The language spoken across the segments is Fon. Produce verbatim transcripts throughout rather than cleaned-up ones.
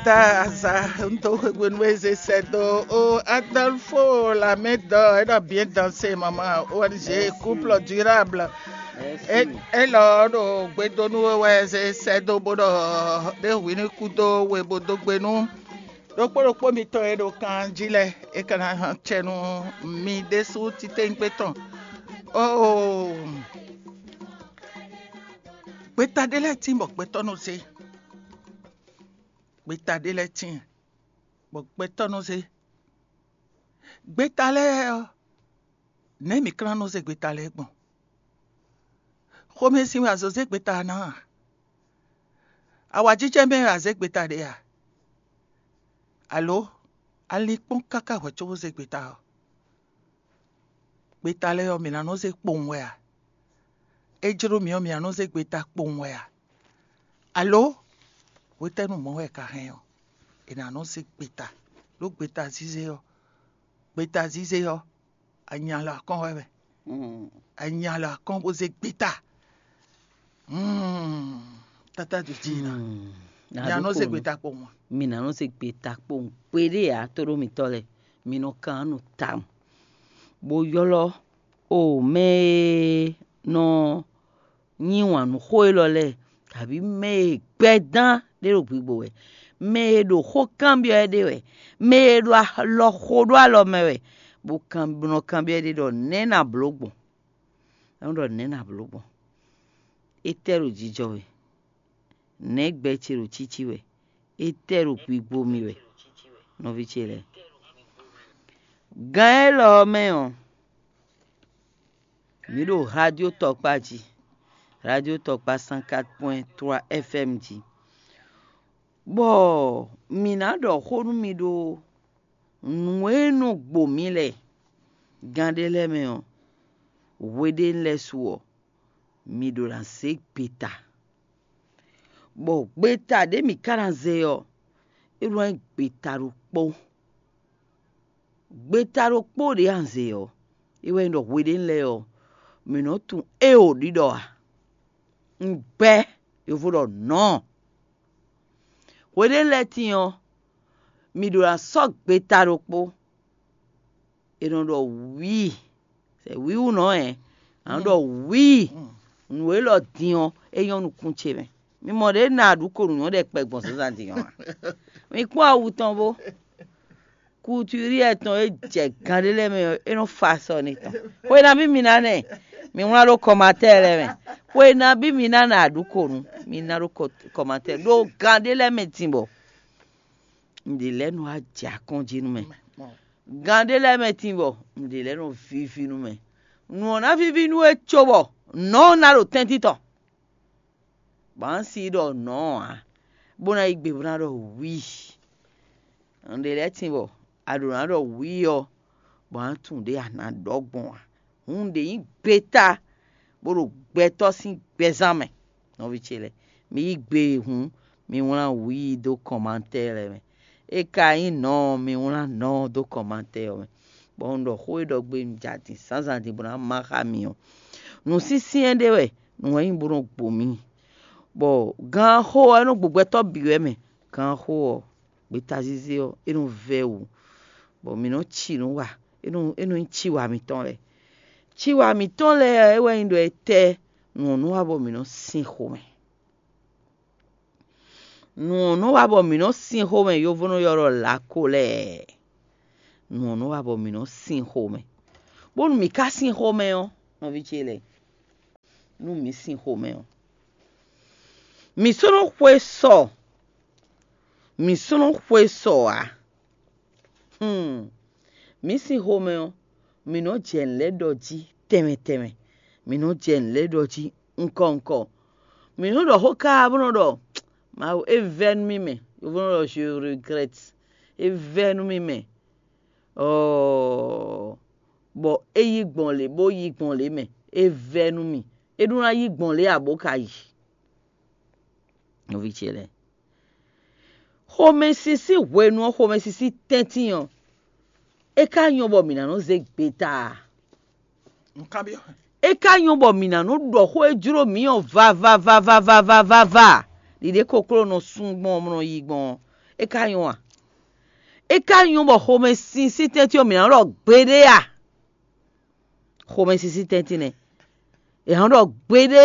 Ta azǎn dó hwenu e zé sɛ́ dó ó Adolfo Lamɛdɔ é ɖɔ bien dansé maman O N G couple durable. Élɔ́ ɖo gbedonu wɛ zé sɛ́ dó bó ɖɔ ɖé hwi ní kú dó we bó dó gbe nú ɖokpó ɖokpó mitɔn e ɖo kan jí lɛ́ɛ é ka ná hɛn acɛ nú mi ɖésú titewungbe tɔn. Oo, gbeta ɖé lɛ́ɛ tín bɔ gbɛtɔ́ nɔ zé. Gbeta ɖé lɛ́ɛ tíin, bɔ gbɛtɔ́ nɔ zé. Gbeta lɛ́ɛ ɔ́, nɛ̌ mǐ ka ná nɔ zé gbeta lɛ́ɛ gbɔn? Xomɛ sin wɛ a zǒ zé gbeta ná a? Awǎjijɛ mɛ wɛ a zě gbeta ɖe a? Alo a lin kpɔ́n káká hwɛ̌ cóbó zé gbeta ɔ́? Gbeta lɛ́ɛ ɔ́, mǐ ná nɔ zé kpowun wɛ a? É jló mǐ ɔ́, mǐ ná nɔ zé gbeta kpowun wɛ a? Alo hwetɛ́nu mɔ̌ wɛ è ka hɛn ɔ́, è nǎ nɔ zé gbeta? Ɖó gbeta zízé ɔ́, gbeta zízé ɔ́, a nya alɔ akɔ́n wɛ mɛ. A nya alɔ akɔ́n bó zé gbeta. Tata jǒjǐ ná. Mǐ ná nɔ zé gbeta kpowun a? Mǐ ná nɔ zé gbeta kpowun kpéɖé ǎ, tóɖó mitɔ́ lɛ́ɛ, mi nɔ kan nú tawun, bó ylɔ́ o mɛ e nɔ nyi wǎn nú xó élɔ́ lɛ́ɛ, kabǐ mɛ e gbɛ́ dán ɖé ɖo gbigbo wɛ, mɛ e ɖo xó kanbyɔ́ ɛ ɖe wɛ, mɛ e ɖo alɔ xo ɖó alɔ mɛ wɛ, bó kan bó nɔ kanbyɔ́ ɛ ɖe ɖɔ nɛ̌ na blǒ gbɔn? É nɔ ɖɔ nɛ̌ na blǒ gbɔn? Étɛ́ ɖo jijɔ wɛ? Nɛ̌ gbɛ ce ɖo cící wɛ? Étɛ́ ɖo gbigbo mì wɛ? Nɔví ce lɛ́ɛ, gán élɔ́ ɔ́ mɛ ɔ́, mǐ ɖo radio tɔkpá jí, radio tɔkpá cent quatre point trois F M jí, bɔ mǐ ná ɖɔ xó nú mi ɖó nǔ e nɔ gbo mǐ lɛ́ɛ gán ɖé lɛ́ɛ mɛ ɔ́, hweɖénu lɛ́ɛ su ɔ́, mi ɖo ná zé gbeta, bɔ gbeta ɖě mǐ ka ná zé ɔ́, é nɔ nyí gbeta ɖokpó. Gbeta ɖokpó ɖě a nǎ zé ɔ́, é wɛ nyí ɖɔ hweɖénu lɛ́ɛ ɔ́, mǐ nɔ́ tunwun éeǒ ɖiɖɔ ǎ. Un gbɛ́, yovo ɖɔ nɔ̌. Hweɖénu lɛ́ɛ tíin ɔ́, mǐ ɖo ná sɔ́ gbeta ɖokpó. È nɔ ɖɔ wǐi, sɛ wǐwunɔ ɛ, a nɔ ɖɔ wǐi. Nǔ élɔ́ din ɔ́, é nyɔ́ nukún ce mɛ. Mi mɔ ɖě na aɖǔko nǔ nyɔ́ ɖɛkpɛ gbɔn zǎnzǎn din ɔ́ a? Mi kpɔ́n awu tɔn bó. Kutúrí ɛtɔn e jɛ gán ɖé lɛ́ɛ mɛ ɔ́, é nɔ fa sɔ n'i tɔn. Xwe nabí mi ná nɛ? Mi wlán ɖó kɔmatɛ́ɛ lɛ́ɛ mɛ. Xwe nabí mi ná nɛ aɖǔko nǔ? Mi ná ɖó kɔmatɛ́ɛ ɖó gán ɖé lɛ́ɛ mɛ din bɔ nǔɖé lɛ́ɛ nɔ wá jɛ akɔ́n jí nú mɛ. Gán ɖé lɛ́ɛ mɛ tíin bɔ nǔɖé lɛ́ɛ nɔ víví nú mɛ. Nǔ ɔ́ ná víví nú we cóbɔ nɔ̌ ɔ́ ná ɖo tɛ́ntin tɔn. Bɔ a nǎ si ɖɔ nɔ̌ ɔ́ ǎ, bó ná yí gbe bó ná ɖɔ wǐi. Nǔɖé lɛ́ɛ tíin bɔ a ɖǒ ná ɖɔ wǐi ɔ́, bɔ a nǎ tunwun ɖě a nǎ ɖɔ gbɔn ǎ. Hǔn nǔɖé nyí gbeta bó ɖo gbɛtɔ́ sín gbɛzán mɛ. Nɔví ce lɛ́ɛ, mi yí gbe e hǔn, mi wlán wǐi dó kɔmantɛ́ɛ lɛ́ɛ mɛ. É ka nyí nɔ̌ ɔ́, mi wlán nɔ̌ ɔ́ dó kɔmantɛ́ɛ ɔ́ mɛ, bɔ un ɖɔ xó e ɖɔ gbe un jɛ adǐn zǎnzǎn din bó ná má xá mi ɔ́. Nǔsyɛ́nsyɛ́n ɖé wɛ nǔ wɛ nyí bó nɔ́ gbo mì, bɔ gǎn xó ɔ́, é nɔ́ gbo gbɛtɔ́ bǐ wɛ mɛ. Gǎn xó ɔ́, gbeta zízé ɔ́, é nɔ vɛ́ wǔ, bɔ mǐ nɔ́ ci nǔ wa, é nɔ é nɔ nyí ciwa mǐtɔn lɛ́ɛ. Ciwa mǐtɔn lɛ́ɛ ɔ́, é wɛ nyí ɖɔ étɛ́ nǔ ɔ́ nɔ wa bɔ mǐ nɔ́ sin xomɛ. Nǔ ɔ́ nɔ wa bɔ mǐ nɔ́ sin xomɛ, yovo nɔ ylɔ́ ɖɔ lǎko lɛ́ɛ. Nǔ ɔ́ nɔ wa bɔ mǐ nɔ́ sin xomɛ, bónú mǐ ka sin xomɛ ɔ́, nɔví ce lɛ́ɛ, nú mǐ sin xomɛ ɔ́, mǐ sɔ́ nɔ xwe sɔ, mǐ sɔ́ nɔ xwe sɔ ǎ. Hlún, mǐ sín xomɛ ɔ́, mǐ nɔ́ jɛ nǔ lɛ́ɛ ɖɔ jí tɛnmɛ tɛnmɛ, mǐ nɔ́ jɛ nǔ lɛ́ɛ ɖɔ jí ŋkɔ ŋkɔ. Mǐ nɔ́ ɖɔ xó káá bó nɔ́ ɖɔ Mawu, é vɛ́ nú mì mɛ, yovo nɔ́ ɖɔ je regrette, é vɛ́ nú mì mɛ, ɔɔ, bɔ é yí gbɔn lě bó yí gbɔn lě mɛ, é vɛ́ nú mì, é ɖó ná yí gbɔn lě ǎ bó ka yi. Nɔví ce lɛ́ɛ, xomɛsin sín hwenu ɔ́, xomɛsin sín tɛ́ntin ɔ́, é ka nyɔ́ bɔ mǐ ná nɔ zé gbeta a? É ka nyɔ́ bɔ mǐ ná nɔ ɖɔ xó e jló mǐ ɔ́ vavavavavavava. Ɖiɖe kokló nɔ sú gbɔn ɔ́, nɔ yi gbɔn ɔ́, É ka nyɔ́ a? É ka nyɔ́ bɔ xomɛsin sín tɛ́ntin ɔ́ mǐ ná ɖɔ gbeɖé a? Xomɛsin sín tɛ́ntin nɛ́. È nǎ ɖɔ gbeɖé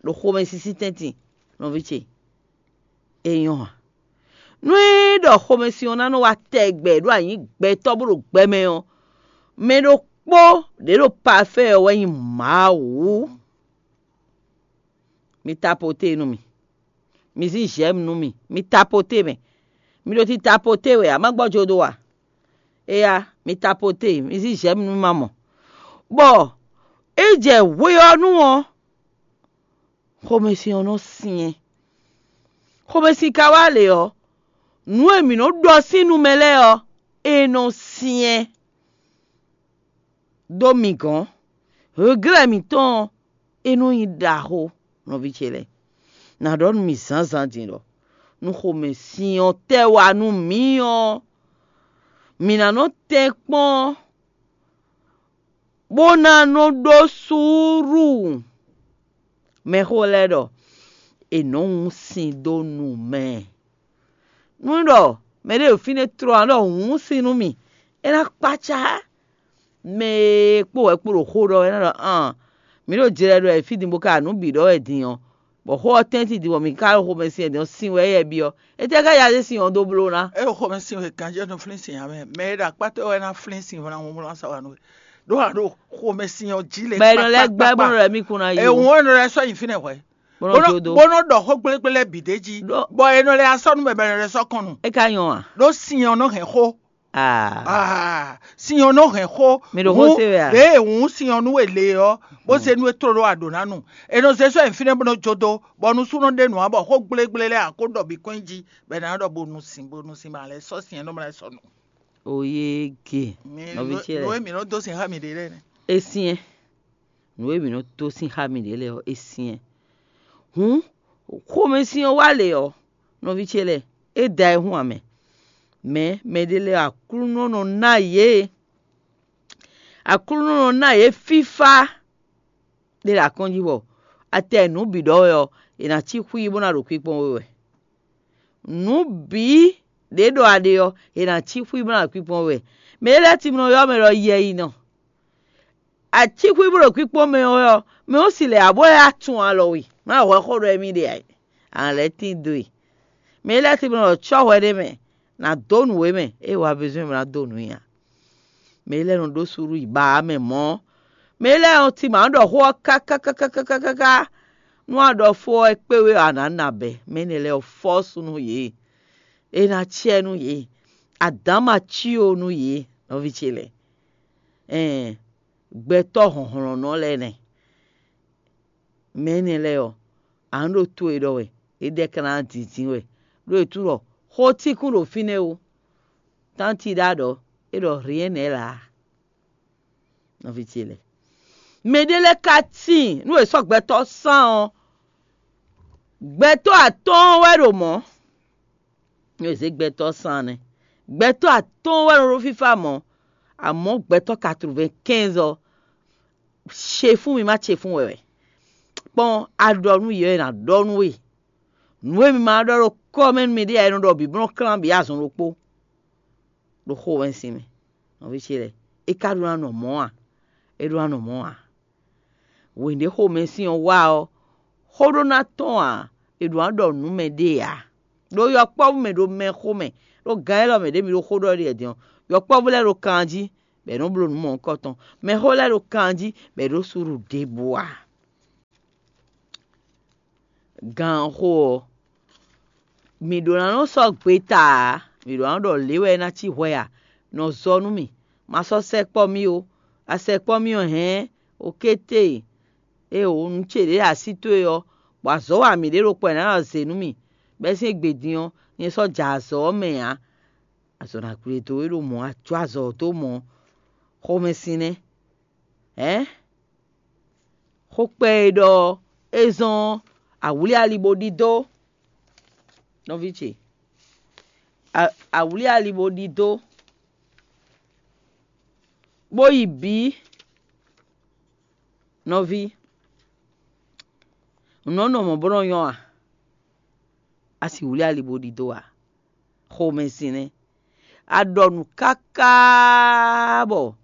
ɖo xomɛsin sín tɛ́ntin, nɔví ce. É nyɔ́ a? Nú é ɖɔ xomɛsin ɔ́ ná nɔ wá tɛgbɛ ɖó anyǐ gbɛtɔ́ bó ɖo gbɛ mɛ ɔ́, mɛ ɖokpó ɖě ɖo pafɛ́ ɔ́ wɛ nyí Mawu. Mi tapoté nú mì. Mi zín j'aime nú mì. Mi tapoté mɛ. Mi ɖo ti tapoté wɛ a má gbɔ́ jo dó a? Éyá, mi tapoté, mi zín j'aime nú mì ma mɔ. Bɔ é jɛ hwe ɔ́ nu ɔ́, xomɛsin ɔ́ nɔ syɛ́n. Xomɛsin ka wá lě ɔ́, nǔ e mǐ nɔ ɖɔ sín nu mɛ lɛ́ɛ ɔ́, é nɔ syɛ́n dó mi gɔ̌n. Hweglɛ́ mǐtɔn ɔ́, é nɔ nyí ɖaxó, nɔví ce lɛ́ɛ. Nǎ ɖɔ nú mi zǎnzǎn din ɖɔ nú xomɛsin ɔ́ tɛ́ wá nú mǐ ɔ́, mǐ ná nɔ tɛ́nkpɔ́n bó ná nɔ ɖó suúlu. Mɛxó lɛ́ɛ ɖɔ è nɔ́ wún sin dó nu mɛ. Nú ɖɔ mɛɖé ɖo fínɛ́ tló ǎ ɖɔ wǔnsin nú mì, é ná kpácá mɛ e kpó wɛ kpó ɖo xó ɖɔ wɛ é ná ɖɔ aan, mǐ ɖo jlɛ ɖɔ wɛ fí din bó ka nǔ bǐ ɖɔ wɛ din ɔ́, bɔ xó ɔ́ tɛ́ntin din bɔ mǐ ka ɖo xomɛsin wɛ din ɔ́, sin wɛ éyɛ́ byɔ́. Étɛ́ ká ya zé sin ɔ́ dó bló ná? É ɖo xomɛsin wɛ ganjɛ́ nɔ flín sin ǎ mɛ. Mɛ e ɖo akpá towe wɛ ná flín sin ɔ́ ná wlán sa wa nú we. Ɖó a ɖo xomɛsin ɔ́ jí lě. Bɔ è nɔ lɛ́ gbɛ́ bó nɔ lɛ́ mì kún ná yi. È wǔn é nɔ lɛ́ sɔ́ nyi fínɛ́ hwɛ̌. Bó nɔ jó dó. Bó nɔ ɖɔ xó gblégblé lɛ́ɛ bǐ d'é jí. Bɔ è nɔ lɛ́ sɔ́ nú mɛ bɔ è nɔ lɛ́ sɔ́ kɔn nu. É ka nyɔ́ a? Ɖó sin ɔ́ nɔ hɛn xó. Ah. Sin ɔ́ nɔ hɛn xó. Mi ɖo xó se wɛ a? Ɖěe hǔn sin ɔ́ nú we le ɔ́, bó se nú e tló ɖó aɖǒ ná nu. È nɔ zé sɔ́ nyi fínɛ́ bó nɔ jó dó, bɔ nusúnɔ ɖe nǔ ǎ bɔ xó gblégblé lɛ́ɛ ǎ kó ɖɔ bǐ kɔn nyi jí, bɔ è nǎ ɖɔ bó nu sin, bó nu sin ma lɛ́ sɔ́ sin ɔ́ nɔ ma lɛ́ sɔ́ nu. Oyége. Nɔví ce lɛ́ɛ. Nǔ e mǐ nɔ dó sin xá mǐɖée lɛ́ɛ nɛ́. É syɛ́n. Nǔ e mǐ nɔ dó sin xá mǐɖée lɛ́ɛ ɔ́, é syɛ́n. Hǔn, xomɛsin ɔ́ wá lě ɔ́, nɔví ce lɛ́ɛ, é da ayihún ǎ mɛ. Mɛ̌ mɛɖé lɛ́ɛ Aklúnɔ nɔ ná yě. Aklúnɔ nɔ ná yě fífá ɖé ɖo akɔ́n jí bɔ atɛ nǔ bǐ ɖɔ wɛ ɔ́, è nǎ cí xwí bó ná ɖo kpíkpɔ́n we wɛ. Nǔ bǐ ɖě ɖɔ a ɖe ɔ́, è nǎ cí xwí bó ná ɖo kpíkpɔ́n we wɛ. Mɛ e lɛ́ timlɔ ylɔ́ mɛ ɖɔ yɛ yi nɔ. Acíxwíxwí ɖo kpíkpɔ́n mɛ ɔ́, mɛ ɔ́ si lɛ̌ abó lɛ́ atun alɔ we, má hwɛ xó ɖɔ émí ɖe ǎ. A lɛ́ tín dó e. Mɛ e lɛ́ tín nɔ cɔ́ hwɛ ɖé mɛ, nǎ dó nǔ we mɛ, ée wa bezɔ́n mɛ ná dó nǔ nyi ǎ. Mɛ e lɛ́ nɔ ɖó suɖú yi ba ǎ mɛ mɔ̌, mɛ e lɛ́ nɔ tín mǎ ɖɔ xó ɔ́ kákákákákáká, nú a ɖɔ fó ɔ́ é kpé we ɔ́, a nǎ na bɛ̌. Mɛ énɛ́ lɛ́ɛ ɔ́, fɔ́ sú nú yě. É ná cɛ nú yě. Adǎn ma cí ó nú yě, nɔví ce lɛ́ɛ. Ɛɛn, gbɛtɔ́ hlɔ̌nhlɔ́nnɔ lɛ́ɛ nɛ́. Mɛ énɛ́ lɛ́ɛ ɔ́, a nǎ ɖo to e ɖɔ wɛ, é ɖɛ́ ka ná dǐndín wɛ, ɖó è tunwun ɖɔ xó tínkún ɖo fínɛ́ ó. Tánti ɖá ɖɔ é ɖɔ rien n'est là. Nɔví ce lɛ́ɛ, mɛɖé lɛ́ɛ ka tíin nú è sɔ́ gbɛtɔ́ sán ɔ́, gbɛtɔ́ atɔ́ɔ́n wɛ ɖo mɔ̌. Nú è zě gbɛtɔ́ sán nɛ́, gbɛtɔ́ atɔ́ɔ́n wɛ nɔ ɖó fífá mɔ̌, amɔ̌ gbɛtɔ́ quatre-vingt-quinze ɔ́, ce fún mi má ce fún wɛ wɛ. Kpɔ́n a ɖɔ nú yě wɛ è nǎ ɖɔ nú we. Nǔ e mi ma ɖɔ ɖo kɔ́ mɛ nú miɖée ǎ, è nɔ ɖɔ bǐ bó nɔ klán bǐ azɔn ɖokpó ɖo xo wɛnsin mɛ. Nɔví ce lɛ́ɛ, é ka ɖó ná nɔ mɔ̌ a? É ɖó ná nɔ mɔ̌ a? Wěnɖéxomɛsin ɔ́ wá ɔ́, xó ɖó ná tɔ́n ǎ, è ɖǒ ná ɖɔ nǔ mɛ ɖée ǎ. Ɖó yɔkpɔ́vú mɛ ɖo mɛ xomɛ, ɖó gǎn élɔ́ mɛ ɖě mi ɖo xó ɖɔ ɖi din ɔ́, yɔkpɔ́vú lɛ́ɛ ɖo kan jí, bɔ è nɔ́ bló nǔ mɔ̌hunkɔtɔn. Mɛxó lɛ́ɛ ɖo kan jí, bɔ è ɖǒ suɖu ɖěbǔ ǎ. Gǎnxo ɔ́, mǐ ɖǒ ná nɔ sɔ́ gbeta ǎ, mǐ ɖǒ ná ɖɔ lě wɛ é ná cí hwɛ a? Nɔ zɔ nú mì, ma sɔ́ sɛkpɔ́ mì ó. A sɛkpɔ́ mì ɔ́ hɛ̌n, okété e o nǔ ce ɖě ɖo así towe ɔ́, bɔ azɔ̌ wa mǐɖée ɖokpó ɔ́ è nǎ nɔ zě nú mì, bɛ́ sín égbé din ɔ́, nyɛ sɔ́ ja azɔ̌ ɔ́ mɛ ǎ. Azɔ̌ ná gblé dó é ɖo mɔ̌, a jó azɔ̌ ɔ́ dó mɔ̌, xomɛsin nɛ́. Ɛ̌? Xó kpɛ́ e ɖɔ é zɔ́n awlí ali bó ɖidó, nɔví ce. A- awlí ali bó ɖidó, bó yi bǐ, nɔví. Nǔ nɔ nɔ mɔ̌ bó nɔ nyɔ́ a? A si wlí ali bó ɖidó a? Xomɛsin nɛ́. A ɖɔ nǔ káká bɔ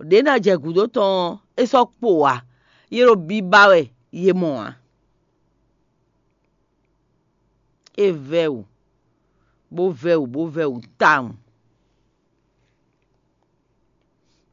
ɖě ná jɛ gǔdo tɔn ɔ́, é sɔ́ kpo ǎ; yě ɖo biba wɛ yě mɔ ǎ. É vɛ́ wǔ, bó vɛ́ wǔ, bó vɛ́ wǔ tawun.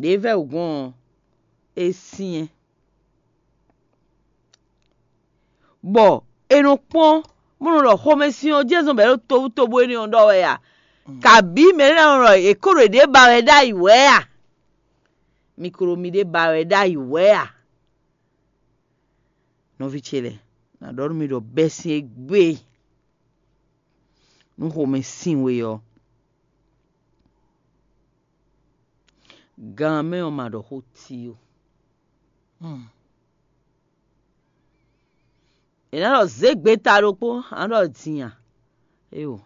Ɖě vɛ́ wǔ gbɔn ɔ́, é syɛ́n. Bɔ è nɔ kpɔ́n, bó nɔ ɖɔ xomɛsin ɔ́ jɛ́n zɔn bɔ é ɖo tobutóbú énɛ́ ɔ́ ɖɔ wɛ a? Kabǐ mɛ ɖé ná nɔ ɖɔ è ko ɖo yěɖée ba wɛ ɖ'ayǐ wɛ a? Mi ko ɖo miɖée ba wɛ ɖ'ayǐ wɛ a? Nɔví ce lɛ́ɛ, nǎ ɖɔ nú mi ɖɔ bɛ́ sín égbé nú xomɛ sin we ɔ́, gan mɛ ɔ́ ma ɖɔ xó ti ó. È nǎ ɖɔ zě gbeta ɖokpó, a nǎ ɖɔ din a? Éyo,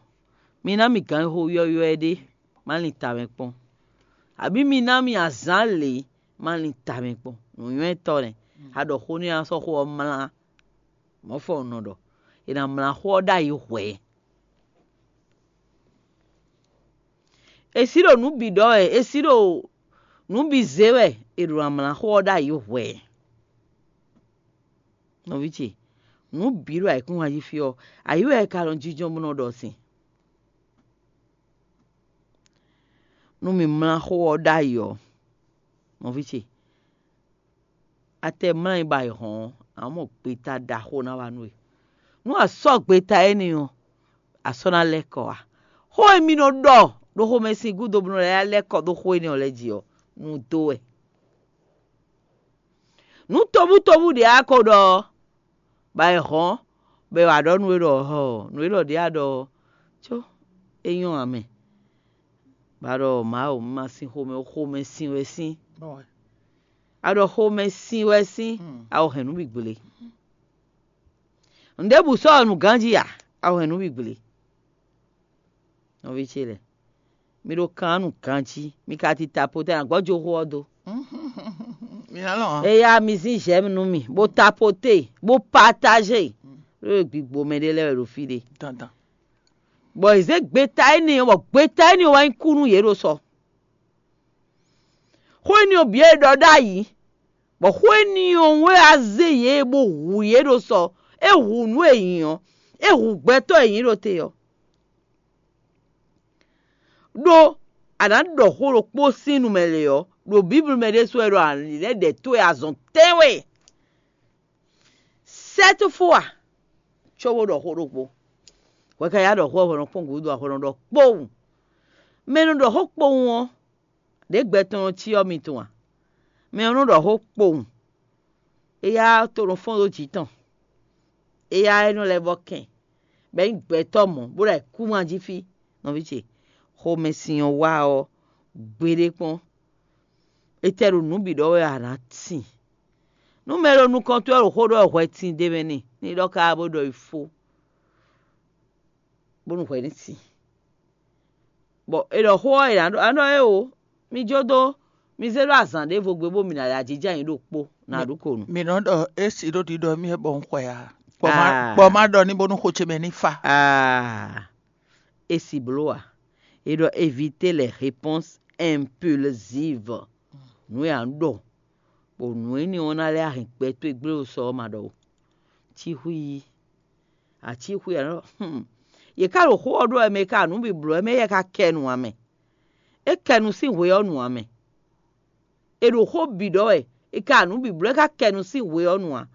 mi ná mi gǎn e xo ywɔ́ywɔ́ ɛ ɖé, má lin tamɛ kpɔ́n, abǐ mi ná mi azǎn lě, má lin tamɛ kpɔ́n. Nǔnywɛ́tɔ́ nɛ́, a ɖɔ xó n'i a sɔ́ xó ɔ́ mlá. Mɔ̌ fɔ un nɔ ɖɔ, è nǎ mlá xó ɔ́ ɖ'ayǐ hwɛ̌. È sí ɖo nǔ bǐ ɖɔ wɛ, è sí ɖo nǔ bǐ zé wɛ, è ɖo ná mlá xó ɔ́ ɖ'ayǐ hwɛ̌. Nɔví ce, nǔ bǐ ɖo ayǐkúngban jí fí ɔ́, ayǐ wɛ è ka nɔ jínjɔ́n bó nɔ ɖɔ sin. Nú mi mlá xó ɔ́ ɖ'ayǐ ɔ́, nɔví ce, a tɛ mlá nyi ba yi hɔn ɔ́, a nǎ mɔ gbeta ɖaxó ná wá nú we. Nú a sɔ́ gbeta énɛ́ ɔ́, a sɔ́ ná lɛ́ kɔ ǎ. Xó e mi nɔ ɖɔ ɖo xomɛsin gúdo bó nɔ lɛ́ lɛ́ kɔ dó xó énɛ́ ɔ́ lɛ́ɛ jí ɔ́, nǔ dó wɛ. Nǔ tobutóbú ɖě a ko ɖɔ ɔ́, ba è hɔn, bɔ è wǎ ɖɔ nú we ɖɔ hɔ nǔ e ɖɔ ɖě a ɖɔ ɔ́, có é nyɔ́ ǎ mɛ. Ba ɖɔ Mawu, un ma sin xomɛ ó, xomɛ sin wɛ sín. A ɖɔ xomɛ sin wɛ sín, a ko hɛn nǔ bǐ gblé. Nǔɖébǔ sɔ́ ɔ́ nǔ ganjí ǎ, a ko hɛn nǔ bǐ gblé. Nɔví ce lɛ́ɛ, mi ɖo kan nú ganjí, mi ka tita po tɛ́ ná gbɔ́ joxo ɔ́ dó. Mi ná lɔn ǎ. Eya mi zín j'aime nú mì, bó tapoté, bó partager. Ɖó gbigbo mɛ ɖé lɛ́ɛ wɛ ɖo fí ɖé. Dandan. Bɔ è zě gbeta énɛ́ ɔ́, bɔ gbeta énɛ́ ɔ́ wá nyí kú nú yě ɖo sɔ. Xó énɛ́ ɔ́ bǐ e ɖɔ ɖ'ayǐ, bɔ xó énɛ́ ɔ́ wɛ wá zé yě bó hu yě ɖo sɔ. É hu nǔ e nyí ɔ́, é hu gbɛtɔ́ e nyí ɖo te ɔ́. Ɖó a nǎ ɖɔ xó ɖokpó sín nu mɛ lě ɔ́, ɖo Bíblu mɛ ɖésú wɛ ɖɔ a lɛ́ ɖɛ towe azɔn tɛ́nwe. Sɛ́túfú a, cóbó ɖɔ xó ɖokpó. Hwɛ ka yá ɖɔ xó ɔ́ hwɛ nɔ kpɔ́n gǔdo a hwɛ nɔ ɖɔ kpowun. Mɛ e nɔ ɖɔ xó kpowun ɔ́, ɖě gbɛ tɔn nɔ cyɔ mi tɔn a? Mɛ ɔ́ nɔ ɖɔ xó kpowun. Éyá to nɔ fɔ́n ɖó jǐ tɔn. Éyá é nɔ lɛ́ vɔ́ kɛn, bɔ é nyí gbɛtɔ́ mɔ̌, bó ɖo ayǐkúngban jí fí. Nɔví ce, xomɛsin ɔ́ wá ɔ́, gbeɖé kpɔ́n. Étɛ́ ɖo nǔ bǐ ɖɔ wɛ a nǎ tin? Nú mɛ e ɖo nukɔn towe ɔ́ ɖo xó ɖɔ wɛ hwɛ tin d'é mɛ n'i, ní ɖɔ káká bó ɖɔ yi fó, bónú hwɛ ní sin. Bɔ è ɖɔ xó ɔ́, è nǎ ɖɔ, a nɔ é o, mi jó dó, mi zé ɖó azǎn ɖěvo gbe bó mi ná ya jínjɔ́n ayǐ ɖokpó, nǎ ɖu ko nu. Mi nɔ ɖɔ é si ɖó ɖiɖɔ mì wɛ bɔ un xwɛ ǎ. Kpɔ ma Aa. Kpɔ ma ɖɔ ní bónú xó ce mɛ ní fa. Aa, é si bló ǎ. É ɖɔ éviter les réponses impulsives. Nǔ e a nǎ ɖɔ, bɔ nǔ énɛ́ ɔ́ ná lɛ́ hɛn gbɛ towe gblé ɖo sɔ ɔ́ ma ɖɔ o. Cíxwí yí. Acíxwí ǎ nɔ. Hmm. Yě ká ɖo xó ɔ́ ɖó wɛ mɛ e ka nǔ bǐ bló wɛ mɛ éyɛ́ ka kɛ nu ǎ mɛ. É kɛ nu sín hwe ɔ́ nu ǎ mɛ. È ɖo xó bǐ ɖɔ wɛ, è ka nǔ bǐ bló, é ka kɛ nu sín hwe ɔ́ nu ǎ.